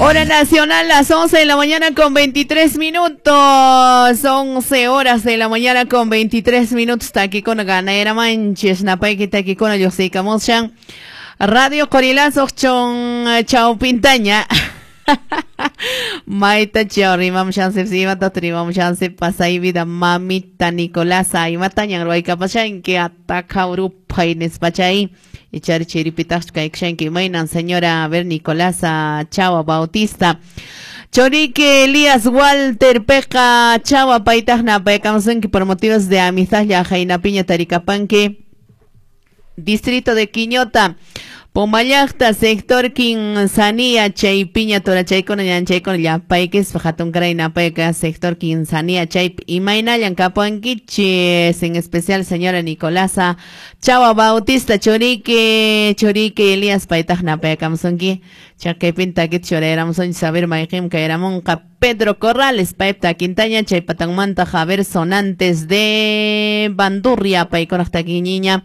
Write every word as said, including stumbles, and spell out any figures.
Hora nacional, las once de la mañana con veintitrés minutos. once horas de la mañana con veintitrés minutos. Takikuna ganera manches. Napayki takikuna lluqsiykamushan. Radio Qorilazo chon Chau Pintaña. Maita chao rimamushansi, imata rimamushansi pasay vida mamita Nicolasa imatañan ruwaykapashanki ataka urupay nispachay ichari chiripitaqchu kaykushanki imaynan señora a ver Nicolasa Chava Bautista Chorique Elías Walter Peca Chava paytaqna paykamusunki por motivos de amistad llaqaynapiña tarikapanki Distrito de Quiñota Pomallaqta sector Quinzanía chaypiña torachaykuna ñanchaykuna llapaykispa hatunkaray napayka sector Quinzanía chaypi imaynallan kapuankichis en especial señora Nicolasa Chava Bautista Chorique Chorique Elías paytaq napaykamusunki chaqaypin takita churayramusunchis saber mayqinmi kayramunqa Pedro Corrales paypa takintaña chaypatanmanta Javier Sonantes de Bandurria paykunaq takiñiña.